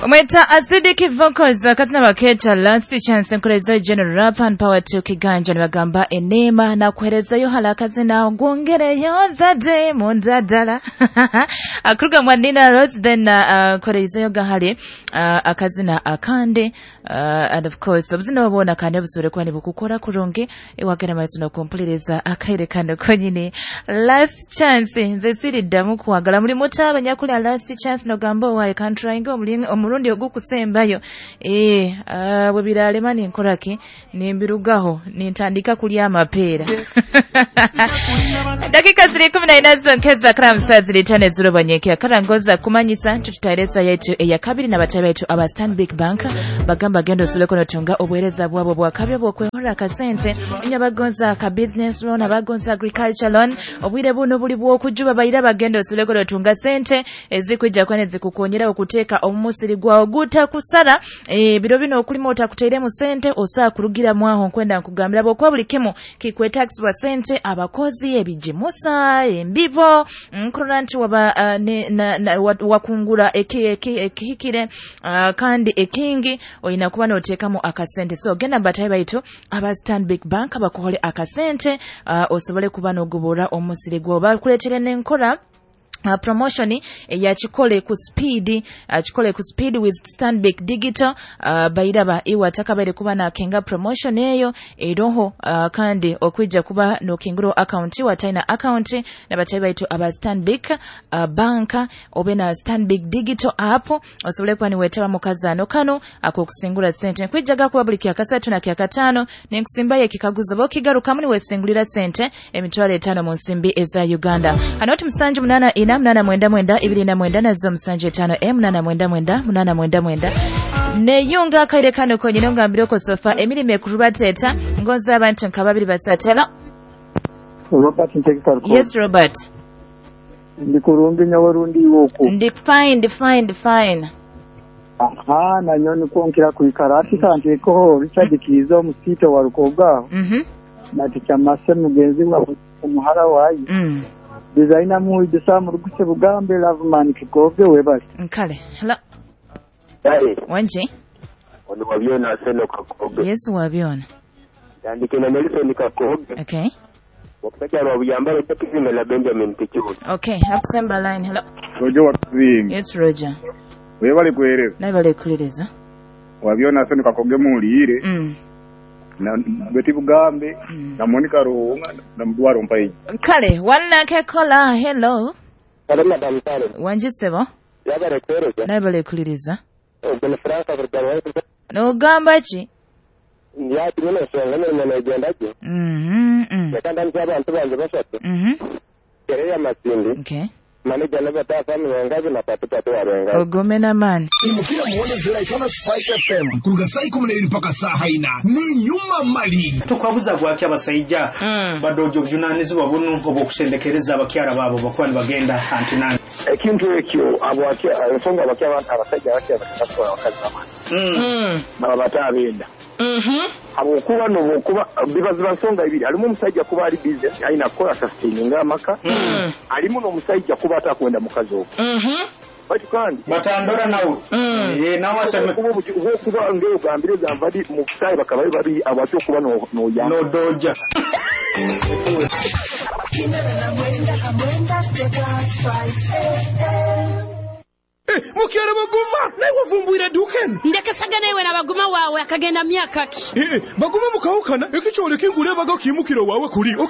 Omweta Acidic Vocals akazina baketa Last Chance nkurezayo General Rap and Power to Kiganja nibagamba enema na kuherezayo hala akazina gwongereyo zade mundadala akuruga mwa Nina Rose then kuherezayo gahali akazina akande and of course obuzina obona kandi busubire kuba nibukukora kurungi ewagera amaiso nokumpuliriza akaire kano konyini Last Chance nze siriddamu kwagala muri muto abanyakulya Last Chance nogamba owaye kantrayinga omurundi ogukusembayo bwe biralema ninkoraki nimbirugaho nintandika kulya amapeera. Dakika ziri 14 zonkeza kramsa ziri 5 zirobanyekera karangoza kumanyisa tututaereza yetu eya kabiri na batayi baitu aba Stanbic Bank bagamba gendo suleko notunga obuhereza bwabo bwakabyo bwokwehora akasente inyabagonza ka business loan abagonza agriculture loan obwire buno buli bwokujuba bayira bagendo suleko notunga sente ezikwijja kwane zikukonyera okuteeka omusiri gwawo guta kusara biro bino okulima otakuteeremu sente osaa kurugira mwaho nkwenda nkugambira bwokuba buli kimu kikwetaxibwa sente abakozi ebijimusa embibo nkurora nti waba wakungura ekihikire kandi ekingi oyina kuba noteekamu akasente. So genda mbatayi baitu aba Stanbic Bank bakuhole akasente osobole kuba nogobora omusiri gwawo bakuleetere n'enkora promotion ya chikole ku speed chikole ku speed with Stanbic Digital bairaba iwa takabaire kuba na kenga promotion eyo eroho kandi okwija kuba no kinguro account wa taina account na batayi baitu aba Stanbic Bank obe na Stanbic Digital app osobole kuba niwetaba mukazano kano akokusingura sente nkwijaga kuba buli kyakasatu na kyakatano nenkusimbayo ekikaguzo bokigarukamu niwesingulira sente emitwalo 5 mu nsimbi eza Uganda. Anoti 784 899 29 nazo 75 899 899 neyunga akaire kano konyine ngambire ko sofa emirime kurubateta ngonza abantu nka babiri basatela. Robert Ntekeka. Yes Robert. Ndi kurungi nyawarundi woko. Ndi fine. Aha na nyoni kuonkira kuikara ati kandi ko Richard Kizo musito wa Rukoga. Na ticamase mugenzi wa umuhara wayi. Designer mu idisa muruguse bugambe Loveman Kigoge webali. Nkale. Hello. Hey. Wanje. Ono wabyona seno Kakoge. Yes wabyona. Ndandike na Nelson Kakoge. Okay. Wakusajja wa buyambalo takizinga la Benjamin Kichuru. Okay, Hapsemba line. Hello. Roger wakuzinga. Yes Roger. Webali kuhereza. Naibale kuhereza. Wabyona seno Kakoge muliire. Na Beti Bugambe na Monica Ruhunga na Mdwaro Mpaiji. Kale wanake kola. Hello. Hello madam Sare. Wanjisebo. Yabale kuhereza. Naibale kuhereza. Ogwo Franka Burgaro. Nogamba ki? Yati nyine songa mirimo negenda gye. Yakanda nzi abantu bange basatu. Kereya Masindi. Okay. Manager n'abatafa mirongo na tatu warenga. Ogomena man. Imukira muone zira Spice FM kuruga saa 12 mpaka saa 4 ni nyuma mali. Tukwabuza gwaki abasajja badojo obujunanizibwa buno obwokusendekereza abakyala baabo bakuba nibagenda antinani. Ekintu ekyo abwaki ensonga abakyala abantu abasajja abakyala bakatwala abakazi bamani. Baba batabenda. Habwokuba n'obwokuba bibaziba nsonga ibiri alimu omusajja kuba ali busy alina kukola sustaininga amaka alimu n'omusajja kuba atakwenda mukazi ogwo. Bati kandi batandora nawe nawe aseme kuba ngeo gambire gambadi mu sai bakaba bari abatyo kuba no ya no doja. Mukyara baguma naye wavumbwira dukeni ndekasaga nawe na baguma wawe akagenda myaka ki baguma mukawukana ekikyole kingule baga kimukiro wawe kuli.